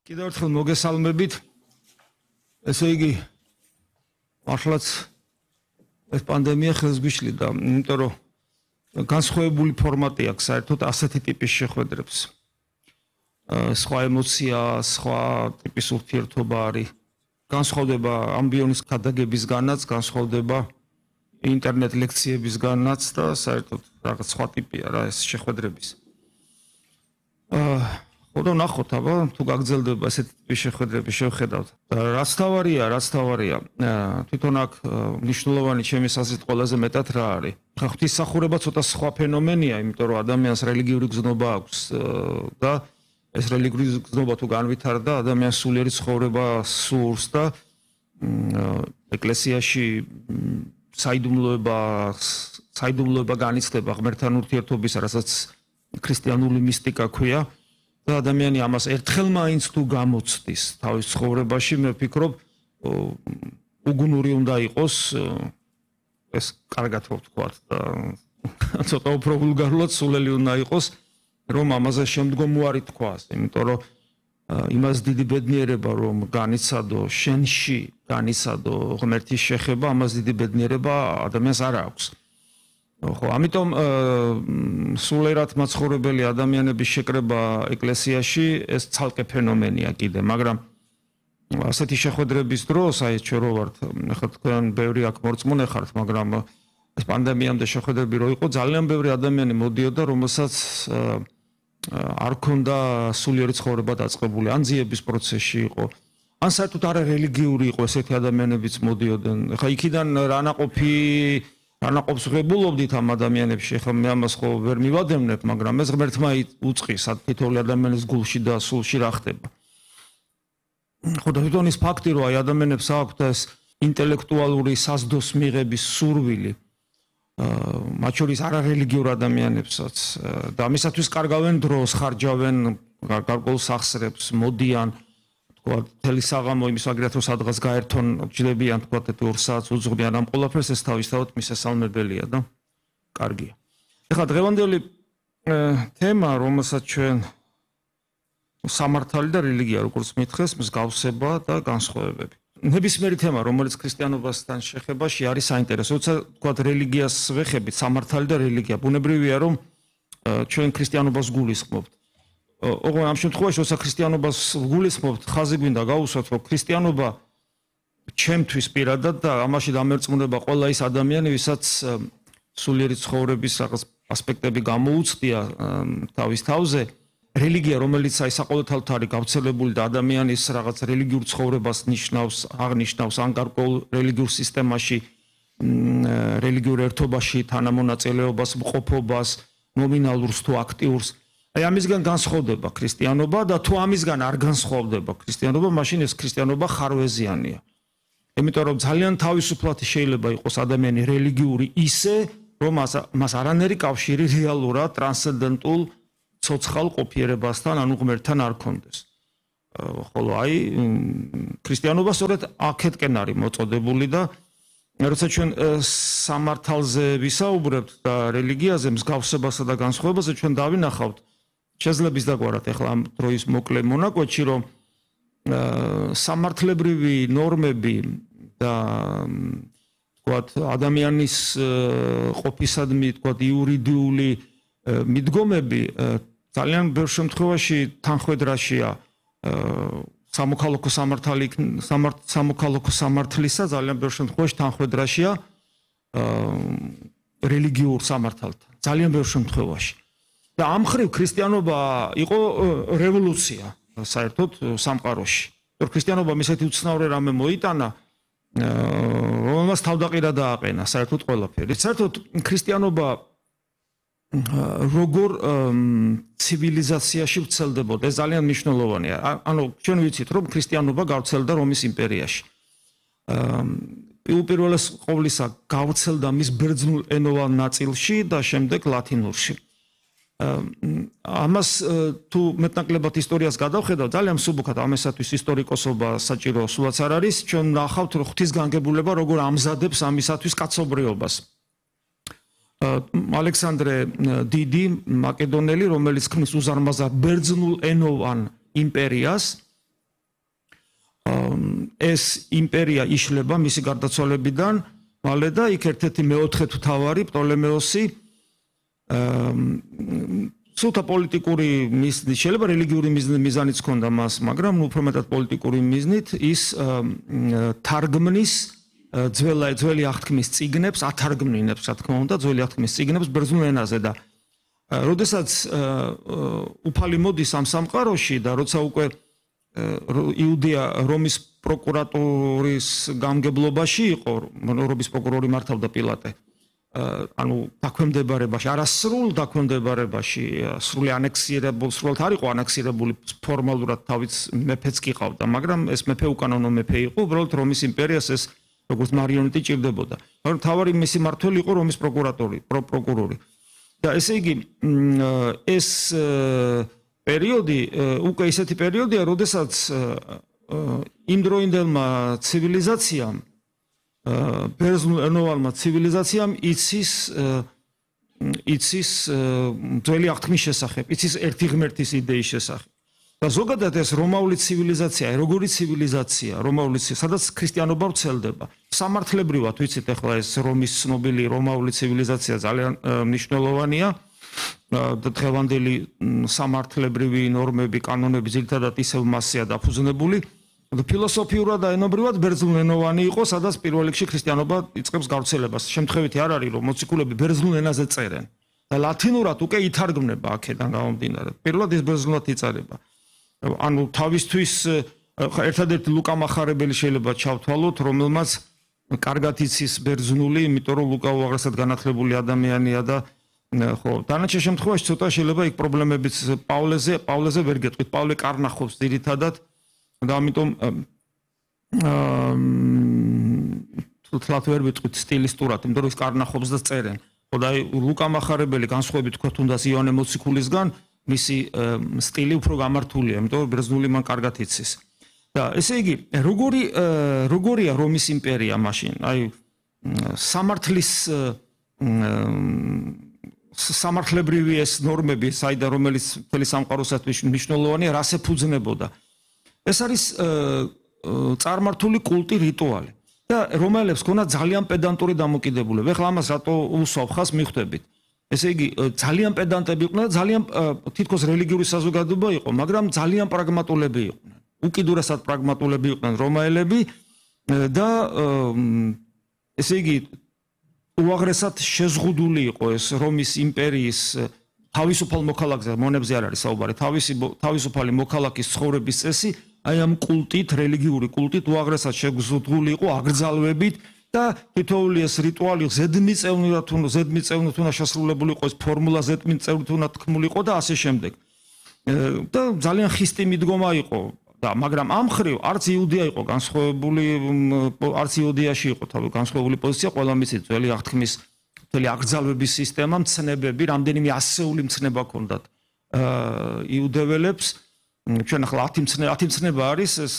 კიდევ ერთხელ მოგესალმებით. ესე იგი, მართლაც ეს პანდემია ხელს გვიშლიდა, იმიტომ რომ განსხვავებული ფორმატი აქვს საერთოდ ასეთი ტიპის შეხვედრებს. სხვა ემოცია, სხვა ტიპის ურთიერთობა არის. განსხვავდება ამბიონის ქადაგებისგანაც, განსხვავდება ინტერნეტ ლექციებისგანაც და საერთოდ რაღაც სხვა ტიპია რა ეს შეხვედრების. ხოდა ნახოთ, აბა თუ გაგრძელდება ესეთი ტიპის შეხვედრები შევხედავთ. რაც თავარია, თვითონ აქ მნიშვნელოვანი ჩემი აზრით ყველაზე მეტად რა არის. ხა ღვთისმსახურება ცოტა სხვა ფენომენია, იმიტომ რომ ადამიანს რელიგიური გზნობა აქვს და ეს რელიგიური გზნობა თუ განვითარდა, ადამიანს სულიერი ცხოვრება სურს და ეკლესიაში საიდუმლოება განიცდება ღმერთთან ურთიერთობის, რასაც ქრისტიანული მისტიკა ქვია. და ადამიანი ამას ერთხელ მაინც თუ გამოცდის თავის ცხოვრებაში, მე ვფიქრობ, უგუნური უნდა იყოს ეს კარგად ვთქვათ და ცოტა უფრო ვულგარულად სულელი უნდა იყოს, რომ ამაზე შემდგომვარი თქვას, იმიტომ რომ იმას დიდი ბედნიერება რომ განიცადო შენში, განიცადო ღმერთის შეხება, ამას დიდი ბედნიერება ადამიანს არ აქვს. ხო, ამიტომ სულიერად მაცხოვრებელი ადამიანების შეკრება ეკლესიაში ეს ცალკე ფენომენია კიდე, მაგრამ ასეთი შეხვედრების დროს, აი ჩვენ რო ვართ, ახლა თქვენ ბევრი აქ მორწმუნე ხართ, მაგრამ ეს პანდემიამდე შეხვედრები რო იყო, ძალიან ბევრი ადამიანი მოდიოდა, რომელსაც არ ქონდა სულიერი ცხოვრება დაწყებული, ან ძიების პროცესში იყო, ან საერთოდ არა რელიგიური იყო ესეთი ადამიანებიც მოდიოდნენ. ახლა იქიდან რა ნაყოფს ღებულობდით ამ ადამიანებში, ახლა მე ამას ხო ვერ მივადევნებ, მაგრამ ეს ღმერთმა უწყის თითოეული ადამიანის გულში და სულში რა ხდება. ხო და თვითონ ის ფაქტი, რომ აი ადამიანებს აქვთ ეს ინტელექტუალური საზდოს მიღების სურვილი, მათ შორის არარელიგიურ ადამიანებსაც და ამისათვის კარგავენ დროს, ხარჯავენ გარკვეულ სახსრებს, მოდიან თელი საღამო იმის ვაგრად რომ სადღაც გაერთონ ჯდებიან თქვათ 2 საათს უძღვნიან ამ ყველაფერს ეს თავისთავად მისასალმებელია და კარგია. ეხლა დღევანდელი თემა, რომელსაც ჩვენ სამართალი და რელიგია როგორც მითხეს, მსგავსება და განსხვავებები. ნებისმიერი თემა, რომელიც ქრისტიანობასთან შეხებაში არის საინტერესო, როცა თქვათ რელიგიას ვეხებით, სამართალი და რელიგია, ბუნებრივია რომ ჩვენ ქრისტიანობას გულისხმობთ. ოღონდ ამ შემთხვევაში, როცა ქრისტიანობას გულისხმობთ, ხაზი გვინდა გავუსვათ, რომ ქრისტიანობა ჩემთვის პირადად და ამაში დამერწმუნება ყველა ის ადამიანი, ვისაც სულიერი ცხოვრების რაღაც ასპექტები გამოუცდია თავის თავზე, რელიგია, რომელიც აი საყოველთაოდ არის გავრცელებული და ადამიანის რაღაც რელიგიურ ცხოვრებას აღნიშნავს ან გარკვეულ რელიგიურ სისტემაში, რელიგიურ ერთობაში თანამონაწილეობას, მყოფობას, ნომინალურს თუ აქტიურს. აი ამისგან განსხვავდება ქრისტიანობა და თუ ამისგან არ განსხვავდება ქრისტიანობა, მაშინ ეს ქრისტიანობა ხარვეზიანია. იმიტომ რომ ძალიან თავისუფლად შეიძლება იყოს ადამიანი რელიგიური ისე, რომ მას არანაირი კავშირი რეალურად ტრანსცენდენტულ ცოცხალ ყოფიერებასთან, ანუ ღმერთთან არ ქონდეს. ხოლო აი ქრისტიანობა სწორედ აქეთკენ არის მოწოდებული და როცა ჩვენ სამართალზე ვისაუბრებთ და რელიგიაზე, მსგავსებასა და განსხვავებაზე, ჩვენ დავინახავთ შეძლებს დაგვარად ახლა ამ დროის მოკლე მონაკვეთში, რომ სამართლებრივი ნორმები და თქვათ ადამიანის ყოფისადმი თქვათ იურიდიული მიდგომები ძალიან ბევრ შემთხვევაში თანხვედრაშია სამოქალაქო სამართლისა, ძალიან ბევრ შემთხვევაში თანხვედრაშია რელიგიურ სამართალთან, ძალიან ბევრ შემთხვევაში. და ამ ხრივ ქრისტიანობა იყო რევოლუცია საერთოდ სამყაროში. ქრისტიანობამ ისეთი უცნაური რამე მოიტანა, რომელმაც თავდაყირა დააყენა საერთოდ ყველაფერი. საერთოდ ქრისტიანობა როგორ ცივილიზაციაში ვრცელდებოდა, ეს ძალიან მნიშვნელოვანია. ანუ ჩვენ ვიცით, რომ ქრისტიანობა გავრცელდა რომის იმპერიაში. პირველეს ყოვლისა გავრცელდა მის ბერძნულ ენოვან ნაწილში და შემდეგ ლათინურში. ამას თუ მეტნაკლებად ისტორიას გადავხედავ, ძალიან მსუბუქად ამისათვის ისტორიკოსობა საჭირო სულაც არ არის, ჩვენ ნახავთ რომ ღვთისგანგებულება როგორ ამზადებს ამისათვის კაცობრიობას. ალექსანდრე დიდი მაკედონელი, რომელიც ქმნის უზარმაზარ ბერძნულ ენოვან იმპერიას, ეს იმპერია იშლება მისი გარდაცვალებიდან მალე და იქ ერთ-ერთი მეოთხე მთავარი პტოლემეოსი სულთა პოლიტიკური მიზნით, შეიძლება რელიგიური მიზანიც ჰქონდა მას, მაგრამ უფრო მეტად პოლიტიკური მიზნით ის თარგმნის ძველი აღთქმის წიგნებს, ათარგმნინებს, რა თქმა უნდა, ძველი აღთქმის წიგნებს ბერძნულ ენაზე და როდესაც უფალი მოდის ამ სამყაროში და როცა უკვე იუდეა რომის პროკურატურის გამგებლობაში იყო, რომის პროკურორი მართავდა პილატე. ანუ დაქვემდებარებაში, არასრულ დაქვემდებარებაში, სრული ანექსირებული, სრულად არ იყო ანექსირებული ფორმალურად თავის მეფეც კი ყავდა, მაგრამ ეს მეფე უკანონო მეფე იყო, უბრალოდ რომის იმპერიას ეს როგორც მარიონეტი ჭირდებოდა. მაგრამ თავარი მისი მმართველი იყო რომის პროკურორი. და ესე იგი ეს პერიოდი უკვე ისეთი პერიოდია, როდესაც იმდროინდელმა ცივილიზაციამ ბერძნულენოვანმა ცივილიზაციამ იცის ძველი აღთქმის შესახებ, იცის ერთი ღმერთის იდეის შესახებ. და ზოგადად ეს რომაული ცივილიზაცია, როგორი ცივილიზაცია, სადაც ქრისტიანობა ვრცელდება. სამართლებრივად ვიცით ახლა ეს რომის ცნობილი რომაული ცივილიზაცია ძალიან მნიშვნელოვანია და დღევანდელი სამართლებრივი ნორმები, კანონები ძირითადად ისევ მასზეა დაფუძნებული. ფილოსოფიურად და ენობრივად ბერძნულენოვანი იყო, სადაც პირველ რიგში ქრისტიანობა იწყებს გავრცელებას. შემთხვევითი არ არის, რომ მოციქულები ბერძნულ ენაზე წერენ და ლათინურად უკვე ითარგმნება აქედან გამომდინარე. პირველად ის ბერძნულად იწერება. ანუ თავისთვის ერთადერთი ლუკა მახარებელი შეიძლება ჩავთვალოთ, რომელმაც კარგად იცის ბერძნული, იმიტომ რომ ლუკა უაღრესად განათლებული ადამიანია და ხო, დანარჩენ შემთხვევაში ცოტა შეიძლება იქ პრობლემებიც პავლეზე ვერ გეტყვით. პავლე კარნახობს ძირითადად და ამიტომ თლათ ვერ ვიტყვით სტილისტურად, იმიტომ რომ ის კარნახობს და წერენ. ხო და ლუკა მახარებელი განსხვავებით თქვა თუნდაც იოანე მოციქულისგან, მისი სტილი უფრო გამართულია, იმიტომ რომ ბერძნული მან კარგად იცის. და ესე იგი, როგორია რომის იმპერია მაშინ? აი სამართლებრივი ეს ნორმები, საიდან რომელიც მთელი სამყაროსათვის მნიშვნელოვანია, რას ეფუძნებოდა? ეს არის წარმართული კულტი, რიტუალი. და რომელებს ქონდა ძალიან პედანტური დამოკიდებულება. ეხლა ამას რატო უსვავ ხას მიხვდებით? ესე იგი, ძალიან პედანტები იყვნენ და ძალიან თითქოს რელიგიური საზოგადოება იყო, მაგრამ ძალიან პრაგმატულები იყვნენ. უკიდურესად პრაგმატულები იყვნენ რომაელები და ესე იგი, უაღრესად შეზღუდული იყო ეს რომის იმპერიის თავისუფალ მოქალაქეზე, მონებზე არ არის საუბარი, თავისუფალი მოქალაქის ცხოვრების წესი, აი ამ კულტით, რელიგიური კულტით უაღრესად შეზღუდული იყო, აგრძალვებით და თითოეული ეს რიტუალი ზედმიწევნით უნდა შესრულებული იყო, ეს ფორმულა ზედმიწევნით უნდა თქმული იყო და ასე შემდეგ. და ძალიან ხისტი მიდგომა იყო და მაგრამ ამ ხრივ არც იუდეა იყო განსხვავებული, არც იუდეაში იყო განსხვავებული პოზიცია, ყველა მისი ძველი აღთქმის მთელი აგრძალვების სისტემა, მცნებები, რამდენიმე ასეული მცნება ჰქონდათ იუდეველებს. ჩვენ ახლა 10 მცნება არის ეს